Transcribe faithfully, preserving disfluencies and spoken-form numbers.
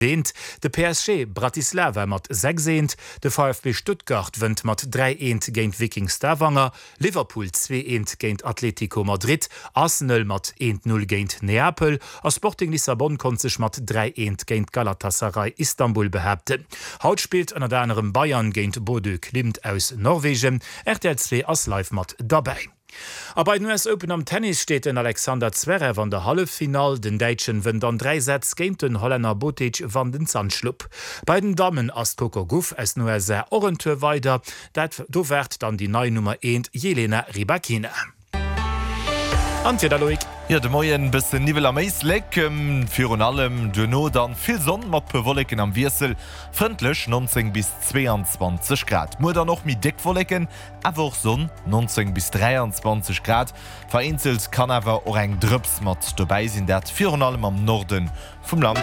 Eent, de P S G Bratislava mat sechs eent, de V F B Stuttgart wënnt mat dräi eent géint Viking Stavanger, Liverpool zwee eent géint Atletico Madrid, Arsenal mat eent null géint Neapel a Sporting Lissabon konnt sech mat dräi eent géint Galatasaray Istanbul behaapten. Haut spillt ënnert anerem Bayern géint Bodø Glimt aus Norwegen. R T L zwee ass live mat derbäi. A bei den U S Open am Tennis steet den Alexander Zverev an der Halleffinall. Den Däitschen wënnt an dräi Sätz géint den Hollänner Botic van den Zandschulp. Bei den Dammen ass d'Coco Gauff aus den U S A och en Tour weider. Dat do waart dann déi nei Nummer eent Jelena Rybakina. An d'Wieder, Loïc? Jo, de Moien bëssen Niwwel am Éislek, virun allem duerno dann vill Sonn mat puer Wolleken am Wiessel, frëndlech nonzéng bis zweeanzwanzeg Grad. Muer dann och méi déck Wolleken, awer och Sonn, nonzéng bis dräianzwanzeg Grad. Vereenzelt kann awer och eng Drëps mat dobäi sinn, dat virun allem am Norde vum Land.